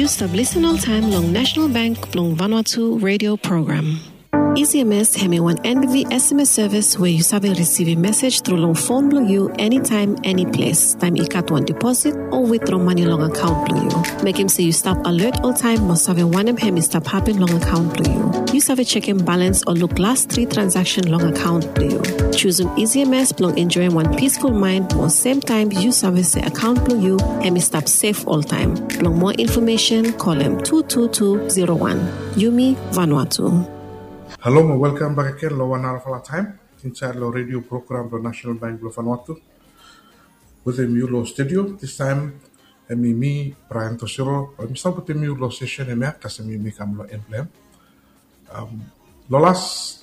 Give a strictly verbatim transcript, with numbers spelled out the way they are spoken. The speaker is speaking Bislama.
Stap lisen oltaem long National Bank blong Vanuatu radio program. E C M S hemi wan N B V S M S sevis we yu save risivim mesej tru long fon blong yu enitaem, eniples, taem i gat wan deposit o witdro mane long akaon blong yu. Mekem se yu stap alet oltaem mo save wanem hemi stap hapen long akaon blong yu. Yu save jekem balens o luk las tri transaksen long akaon blong yu. Jusum E C M S blong enjoem wan pisful maen mo semtaem yu save se akaon blong yu hemi stap sef oltaem. Blong moa infomesen, kolem tu tu tu zero wan. Yumi Vanuatu. Halo mo welkam bakegen long wan narafala taem insaed long redio program blong National Bank blong Vanuatu. Wetem yu long studio distaem hemi mi, Brian Tosiro, we mi stap wetem yu long sesen hemia kasem yumi kam long en blong hem. Long las